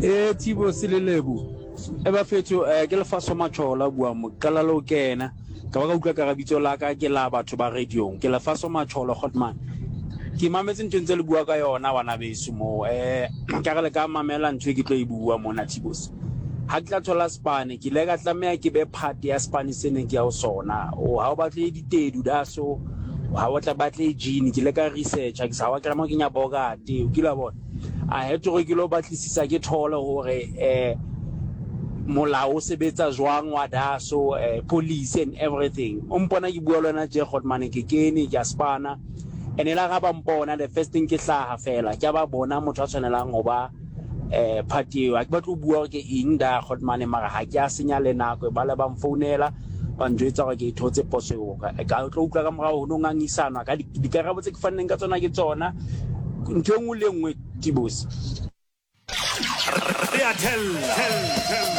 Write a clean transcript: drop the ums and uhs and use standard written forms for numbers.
E Thibo Selelebu e bafetho eh, ke lefaso matshola bua mo qala le o kena ka ba ka utlwa ka bitso la ka ke la batho ba radiong ke lefaso matshola hotman ke mametse ntho ntse le bua ka yona bana beso mo eh ka re le ka mamela ntho e ke tlo e bua mona Thibos ha ke tla thola spane ke ile ka tlameha ke be part ya spane se neng ke ya ho sona o ha o batle ditedu da so ha o tla batle jean ke ile ka researcha ke sa wa tlameha ke nya bogate o kile wa bona I had to gore ke lo batlisisa ke thole hore eh molao o sebetsa jwang wa daso eh, police and everything o mpona ke bua le wena tje Godman ke kene ke a spana and ela ga ba mpona the first thing ke hlaha fela ke ba bona motho a tshwanelang ho ba eh party eo ha ke batle ho bua hore ke eng da Godman mara ha ke a senya le nako ba le ba mfounela ba njwetsa hore ke thotse poso eo ka tlo utlwa ka morao ho no ngangisanwa ka dikarabo tse ke fanneng ka tsona ke tsona ntho e nngwe le e nngwe tibose Re a thella.